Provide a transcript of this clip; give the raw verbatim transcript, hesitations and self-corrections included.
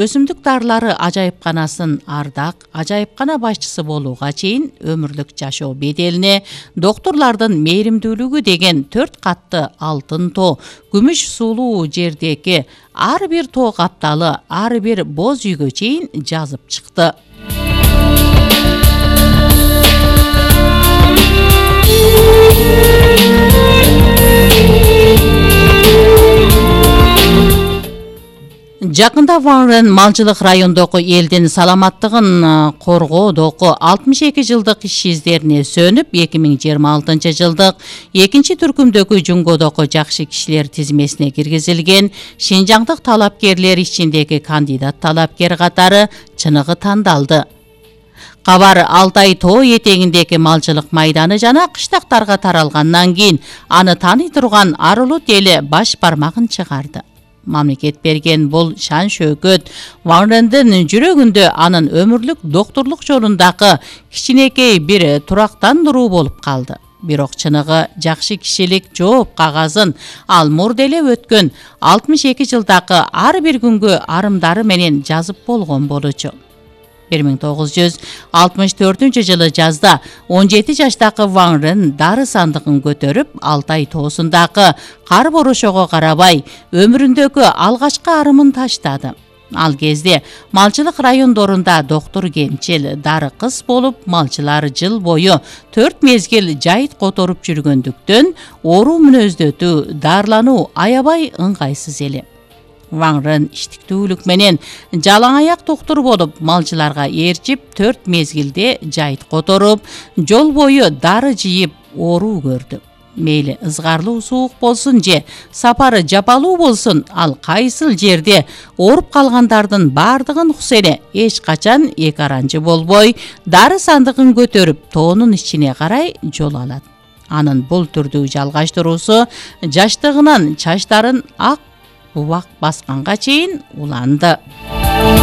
Өсүмдүк дарылары ажайыпканасын ардак, ажайыпкана башчысы болууга чейин өмүрлүк жашоо беделине доктурлардын мээримдүүлүгү деген төрт катты алтын тоо, күмүш суулуу жердеги ар бир тоо капталы ар бир боз үйгө чейин жазып чыкты. Жакында Ван Рен малчылык райондогу элдин саламаттыгын коргоодогу алтымыш эки жылдык иш издерине сөнүп, эки миң жыйырма алтынчы жылдык экинчи түркүмдөгү Жунгодогу жакшы кишилер тизмесине киргизилген Шинжаңдык талапкерлер ичиндеги кандидат талапкер катары чыныгы тандалды. Кабар Алтай тоо этегиндеги малчылык майданы жана кыштактарга таралгандан кийин аны тааный турган арулут эли баш бармагын чыгарды. Мамлекет берген бул шан шөкөт Ван Рендин жүрөгүндө анын өмүрлүк доктурлук жолундагы кичинекей бир турактандыруу болуп калды. Бирок чыныгы жакшы кишилик жооп кагазын ал мурда өткөн алтымыш эки жылдагы ар бир күнгө арымдары менен жазып болгон болчу. бир миң тогуз жүз алтымыш төртүнчү жылы жазда он жети жаштагы Ван Рен дары сандыгын көтөрүп Алтай тоосундагы кар борошого карабай өмүрүндөгү алгачкы арымын таштады. Ал кезде малчылык райондорунда доктур кемчил, дары кыз болуп, малчылар жыл бою төрт мезгил жайыт которуп жүргөндүктөн оору мүнөздөтүү, дарылануу аябай ыңгайсыз эле. Ван Рен иштиктүүлүк менен жалаң аяк доктур болуп, малчыларга ээрчип, төрт мезгилде жайыт которуп, жол бою дары жыйып оору көрдү. Мейли ызгарлуу суук болсун же сапары жапалуу болсун, ал кайсыл жерде ооруп калгандардын бардыгын укса эле эч качан эки аранчы болбой, дары сандыгын көтөрүп, тоонун ичине карай жол алат. Анын бул түрдүү жалгаштыруусу жаштыгынан чачтарын ак убак басканга чейин уланды.